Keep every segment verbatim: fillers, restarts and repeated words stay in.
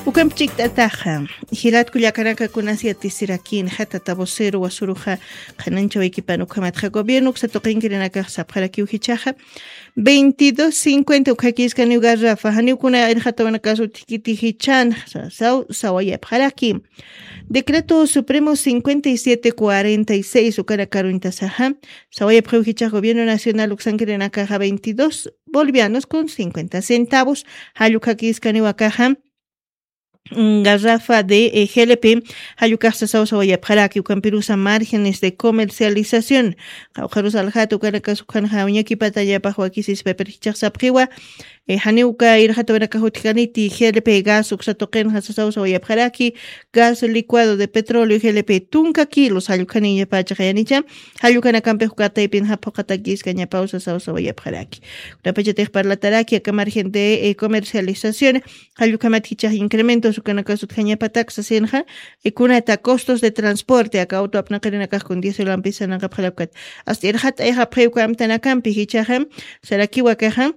Ukamp chikt'ataxa, jilat kullakanaka kunas yatisirakinxa, tata vocero wasuruxa qhananchawaykipana ukhamatxa gobierno uksa tuqinkirinakax sapxarakiw jichhaxa, veintidós cincuenta ukhakiskaniw garrafa, janiw kuna irxatawanakas utjkiti jichhanxa, saw, sawayapxaraki. Decreto Supremo cincuenta y siete cuarenta y seis ukanakaruñtasaxa, sawayapxiw jichhax gobierno nacional uksankirinakaxa veintidós bolivianos con cincuenta centavos, jall ukhakiskaniw akaxa, mm, garrafa de, eh, G L P, jall ukax sasaw sawayapxaraki, ukampirusa márgenes de comercialización, qawqharus aljata ukanakas ukhanxa uñakipatañapax wakisispa, pero jichhax sapxiwa, eh, janiw uka irxatawanakax utjkaniti, G L P gas uksa tuqinxa sasaw sawayapxaraki, gas licuado de petróleo, G L P tunka kilos, jall ukhaniñapachax yanicha, jall ukanakampix uka taypinxa phuqhatakiskañapaw sasaw sawayapxaraki. Kunapachatix parlataraki aka margen de, eh, comercialización, jall ukhamat jichhax incrementos ukanakas utjañapatak sasinxa, eh, kunata costos de transporte, aka auto apnaqirinakax kun diésel ampisananqapxarakkat. Hasta irxat'ayxapxiw uka amtanakampi jichhaxa, sarakiw akaxa,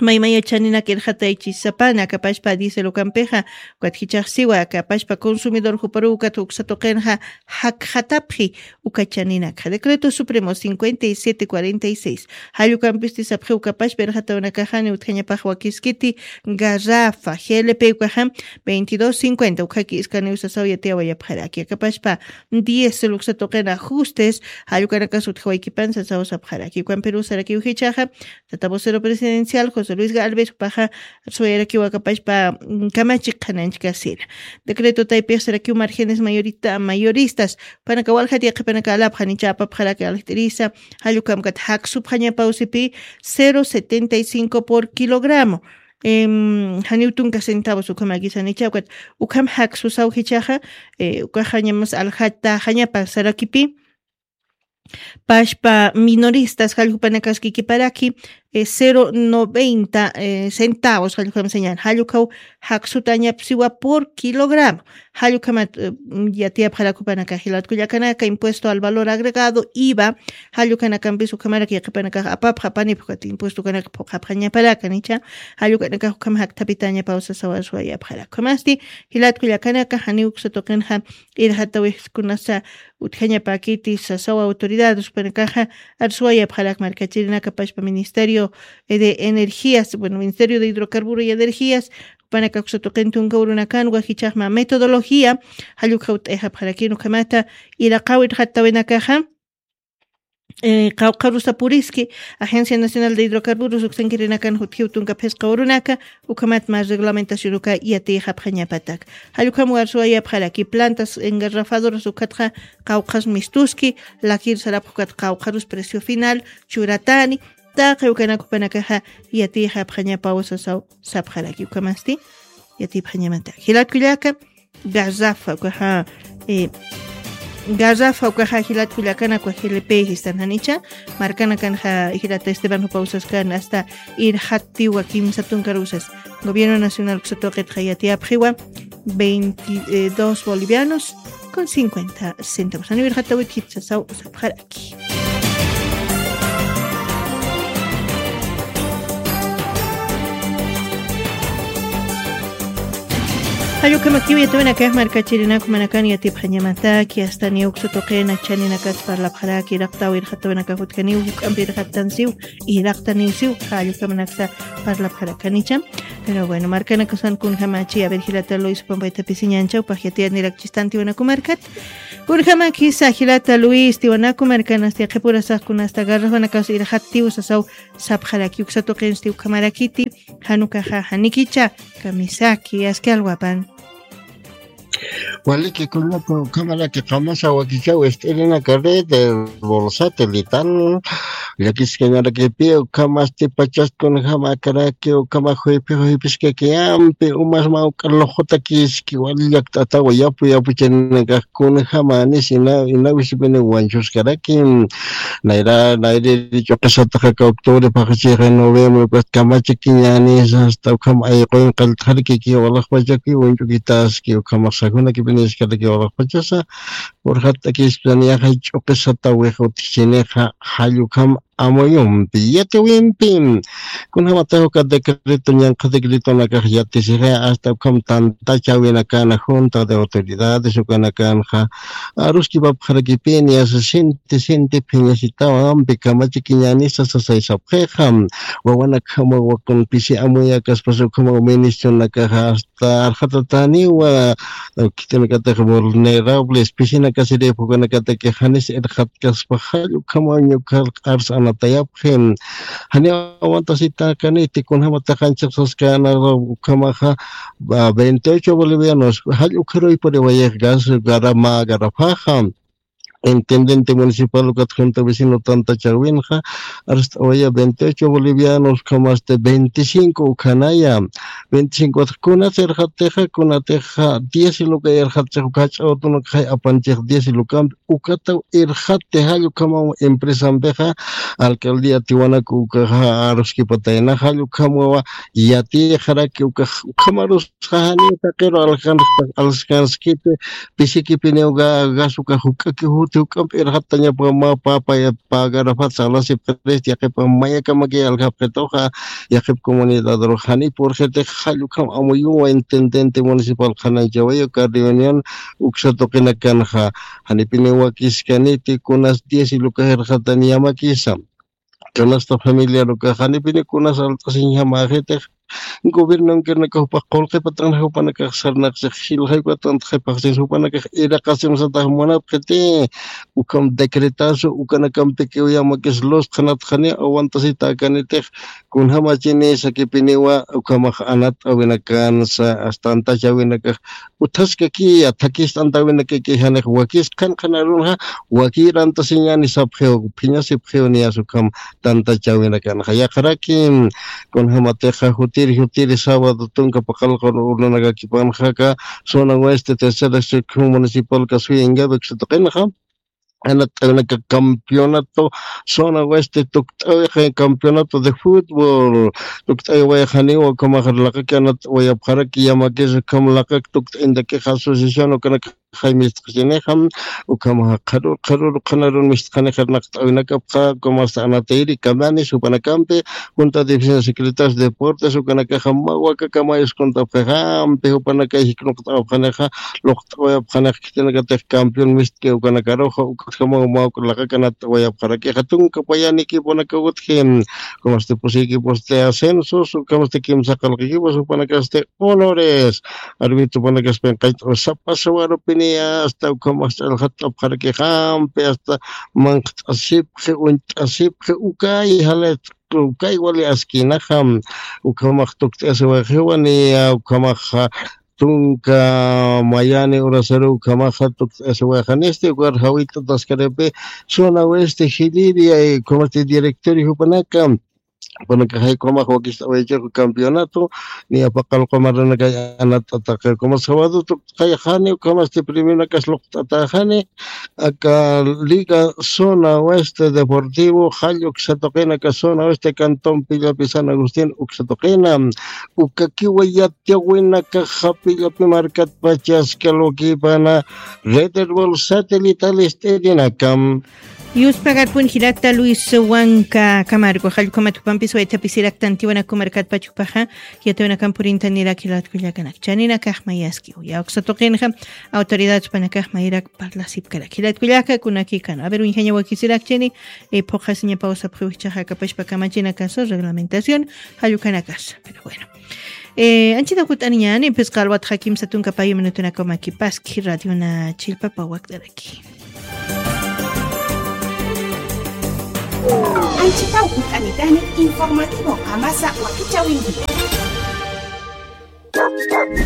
maymaya chaninak irxataychisapana, aka pachpa diésel ukampixa, ukat jichhax siwa, aka pachpa consumidor juparuw ukat uksa tuqinxa, jakxatapxi uka chaninakxa. Decreto Supremo cincuenta y siete cuarenta y seis. Jall ukampisti sapxiw uka pachpa irxatawanakaxani utjañapax wakiskiti garrafa, G L P ukaxa, veintidós cincuenta, ukhaki iskaniw sasaw yatiyawayapxaraki. Aka pachpa diésel uksa tuqin ajustes, jall ukanakas utjawaykipan sasaw sapxaraki. Ukampiruw sarakiw jichhaxa, tata vocero presidencial José Luis Galvez, jupaxa suwayarakiw aka pachpa, mm, kamachi qhananchkasina. Decreto taypix sarakiw márgenes mayorita-, mayoristas, jupanaka waljat yaqhipanaka alapxanicha apapxaraki aljt'irisa, jall ukhamkat jaksupxañapaw sipi cero setenta y cinco por kilogramo. Em, janiw tunka centavos ukhamakisanicha, ukat ukham jaksusaw jichhaxa, eh, ukaxañamas aljataxañapa sarakipi, pachpa minoristas jall jupanakaski kiparaki, eh, cero noventa, eh, centavos jall ukham sañan. Jall ukhaw jaksutañapsiwa por kilogramo. Jall ukhamat, eh, yatiyapxarak jupanaka jilat kullakanaka, impuesto al valor agregado, iva, jall ukanakampis ukhamarak yaqhipanakax apapxapanipxkat impuesto ukanaka phuqhapxañaparakanicha, jall ukanakax ukham jakthapitañapaw sasaw suwayapxarak. Ukhamasti, jilat kullakanaka, janiw uksa tuqinxa irxatawix kunasa utjañapakiti sasaw autoridades jupanakaxa, arsuwayapxarak markachirinaka pachpa Ministerio de Energías, bueno, Ministerio de Hidrocarburo y Energías, jupanaka uksa tuqin tunka urunakanwa jichhaxma metodología, jall ukhaw t'ayxapxarakini ukhamata, iraqaw irxatawinakaxa, eh, qawqharusa puriski, Agencia Nacional de Hidrocarburos uksankirinakan jutjiw tunka phisqa urunaka, ukhamat mä reglamentación uka yatiyxapxañapatak. Jall ukham arsuwayapxaraki plantas engarrafadoras ukatxa qawqhas mistuski, lakir sarapx ukat qawqharus precio final churatani, taqi ukanak jupanakaxa yatiyxapxañapaw sasaw sapxaraki. Ukhamasti yatipxañamataki. Jilat kullaka, garrafa ukaxa, eh, garrafa ukaxa jilat kullakanaka G L P jistan janicha, markanakanxa jilata Esteban jupaw saskan hasta irxatiwa kimsa tunkarusas. Gobierno Nacional uksa tuqitxa yatiyapxiwa veintidós bolivianos con cincuenta centavos. Janiw irxatawit jitsasaw sapxaraki. Jall ukhamakiw yatiyawinakax markachirinaku manakan yatipxañamataki, hasta niw uksa tuqina chaninakas parlapxaraki, iraqtaw irxatawinakax utjaniw, juk'ampi irxatansiw, iraqtaniwsiw, jall ukhamanaksa parlapxarakanicha. Pero bueno, markanakasan kunjamachi, a ver, jilata Luis, pampaytapisiñanchaw, pax yatiyanirak chistantiwanaku markat. Kunjamakisa, jilata Luis, tiwanaku markanasti, qhipurasax kunasta, garrafanakas irxatiw sasaw sapxaraki, uksa tuqinsti ukhamarakiti, jan ukaxa, janikicha, kamisaki, aski alwapan. Waliki kunata ukhamaraki qamasa wakichaw ist'irinaka red, eh, bolsata litan, llakiskañarakipi ukhamasti pachas kunjamakaraki ukhama juypi juypiskakiyampi umas mawk'a luqutakiski wali llakt'atawa yapu yapuchaninakax kunjamanis ina, inawisipini wañchuskaraki. Nayra, nayriri ch'uqisataxa octubre phaxachixa noviembre, pues, kamachakiñänis, hasta ukham ayquyun qallt'xarikiki walaxpachakiw, uñch'ukitaski, ukhamax sajunakipiniskaraki walaxpachasa, urxatakispa niyaxa ch'uqisatawix utjichinixa, jall ukham amuyumpi, yatiwimpi. Kunjamatax uka decreto, ñanqha decretonakax yatisixa, hasta ukham tantachäwinakana junta de autoridades ukanakanxa aruskipapxarakipini, asa sinti sinti phiñasitawampi kamachikiñänisa sasaysapxixa. Wawanakjamawa kun pisi amuyakaspas ukhamaw ministronakaxa hasta arxatatäniwa, khitinakatix vulnerables pisinakasirïpxi ukanakatakix janis irxatkaspa jall ukhamaw ñukhar arsa anatayapxi. Janiw aguantasitäkaniti, kunjamatax anchhax saskänxa ukhamaxa, veintiocho bolivianos jall ukharuypuriwayix gas, garama garafaxa. Intendente municipal ukat junta vecino tantachäwinxa arst'awaya veintiocho bolivianos, ukhamasti veinticinco ukhanaya, veinticinco. Kunat irxatixa, kunatixa diez luka irxatchix, uka jach'a utunakxay apanchix diez lukampi, ukataw irxati jall ukhamaw empresampixa, alcaldía Tiwanaku ukaxa aruskipatayna jall ukhamawa yatixaraki ukax ukhamarus janiw taqiru alkanskiti, pisikipiniw gas uka juk'aki juti juk'amp irxattañapa mä papa pagarapat salasipxirist, yaqhipa mayakamakiy aljapxituxa, yaqhip comunidadrux janiw purxitix jall ukham amuyuwa intendente municipal qhananchawayi uka reunión uksa tuqinakanxa. Janipiniw wakiskaniti kunas diez lukax irxatani yamakisa. Kunasta familiar ukax janipini kunas alt'asiñjamäxitix, gobiernonkirnakax jupax qullqipatanxa jupanakax sarnaqchix jilxay ukatantxay phaxsinsa jupanakax iraqasim satax munapxiti. Ukham decretazo ukanakampiki uyamakis lus qhanat janiw aguantasitäkanitix, kunjamachini sakipiniwa ukhamax anat'äwinakansa, tantachäwinakax utjaskakiya, thakist'antawinakaki janix wakis qhan qhan arunxa, wakir antasiñäni sapxiw, phiñasipxiw niyas ukham tantachäwinakanxa. Yaqharaki kunjamatixa jutiri jutiri sábado tunka paqallqu urunakakipanxa aka zona oeste tercera sección municipal Kasuya Ingavi uksa tuqinxa, anat'äwinaka campeonato zona oeste tukt'äwixa, campeonato de fútbol tukt'äwiwayax janiw ukhamax laqaki anat'awayapxaraki, yamakis ukham laqak tukt'añtakixa asociación ukanakaxay mistxachinixa, ukhamaxa qharür qharür qhanarun mistxanix irnaqt'äwinakapxa, ukhamax anatayiri kamanis jupanakampi, junta de vecinos secretarios deportes ukanakaxa mä wakakamay uskuntapxixampi jupanakay jiknuqt'awapxanixa, luqt'awayapxanix khitinakatix campeón mistki ukanakaruxa, ukatjamaw mä laqak anat'awayapxarakixa tunka payan equiponakaw utji, ukhamasti pusi equipos de ascensos, ukhamasti kimsa qallq equipos, jupanakasti honores, arbitro jupanakaspi qallt'aw sapa sawarupini, hasta ukhamax ch'allxatt'apxarakixampi, hasta manqht'asipxi, uñt'asipxi, ukay jala ukay wali askinaxa, ukhamax tukt'asiwayixiwa niya, ukhamaxa tunka mayani urasaru ukhamaxa tukt'asiwayixa, janisti ukar jawit'ataskaripi zona oeste jiliri, ukhamasti directorio jupanaka, jupanakaxay ukhamax wakist'awayachixu campeonato, niya paqallqu marranakay anat'ataxi, ukhamas sábado tukt'ayaxani, ukhamasti premionakas luqt'atäxani, aka Liga Zona Oeste Deportivo jall uksa tuqina, aka Zona Oeste Cantón Pillapi San Agustín uksa tuqina, ukakiwa yatiwinakaxa Pillapi markatpachas kalwakipana Red Erbol Satelital ist'irinaka. Yuspagarpun jirakta Luis Huanca Camargo, jall ukhamat jupampis waytapisiraktan Tiwanaku markatpach jupaxa, yatiwinakamp purintanirak jilat kullakanak. Chaninakax mayaski. Ya uksa tuqinxa autoridad jupanakax mayirak parlasipkarak. Jilat kullaka kunakikana. A ver, uñjaña wakisirakchini, eh, phuqasiñapaw sapxiw jichhaxa kapashpa kamachinakasa, reglamentación, jall ukanakasa. Pero bueno. Eh, anchita jut'aniñani, pues, qalwatxa kimsa tunka payu minutunakaw makipaski, radiona chillpapa wakt'araki. Anchita jut'anitani, informativo qamasa wakichäwinki.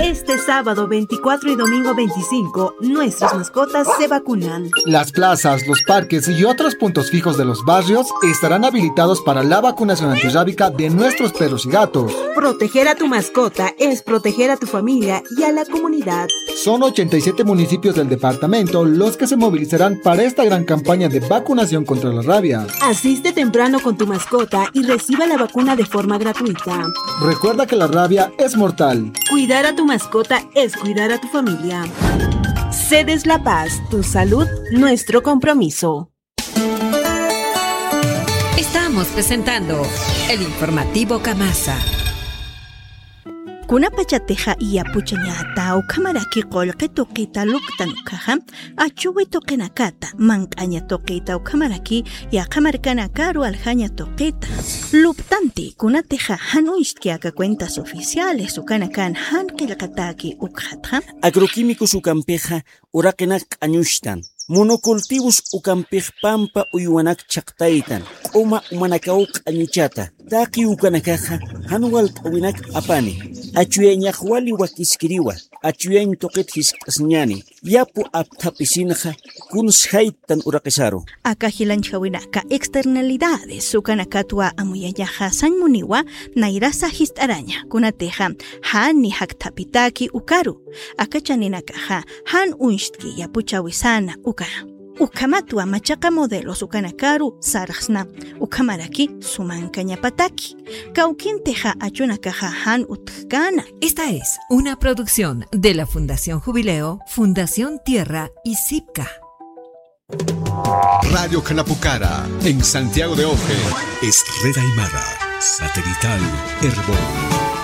Este sábado veinticuatro y domingo veinticinco, nuestras mascotas se vacunan. Las plazas, los parques y otros puntos fijos de los barrios estarán habilitados para la vacunación antirrábica de nuestros perros y gatos. Proteger a tu mascota es proteger a tu familia y a la comunidad. Son ochenta y siete municipios del departamento los que se movilizarán para esta gran campaña de vacunación contra la rabia. Asiste temprano con tu mascota y reciba la vacuna de forma gratuita. Recuerda que la rabia es mortal. Cuidar a tu mascota es cuidar a tu familia. Cedes La Paz, tu salud, nuestro compromiso. Estamos presentando el informativo Kamasa. Kunapachatixa yapuchañata ukhamaraki qullqi tuqita luptan ukhaxa, achuwi tuqinakata, manq'aña tuqita ukhamaraki yaqha markanakaru aljaña tuqita luptanti, kunatixa jan uñstki aka cuentas oficiales ukanakan jan qillqataki ukxatxa. Agroquímicos ukampixa uraqinak q'añuchtan, monocultivos ukampix pampa uywanak chhaqtaytan, q'uma umanakaw q'añuchata, taqi ukanakaxa jan walt'äwinak apani, achuyañax wali wakiskiriwa, achuyañ tuqit jiskt'asiñäni, yapu apthapisinxa kuns jayttan uraqisaru. Aka jilanchjawinaka externalidades ukanakatwa amuyañaxa sañ muniwa nayrasa jist'araña, kunatixa jan ni jakthapitaki ukaru, aka chaninakaxa jan uñstki yapuchawisana uka. Ukhamatwa machaqa modelos ukanakaru sarxsna, ukhamaraki sumankañapataki. Kawkintixa achunakaxa jan utjkäna. Esta es una producción de la Fundación Jubileo, Fundación Tierra y Sipka. Radio Khanapukhara, en Santiago de Oje. Es red aymara, satelital, Erbol.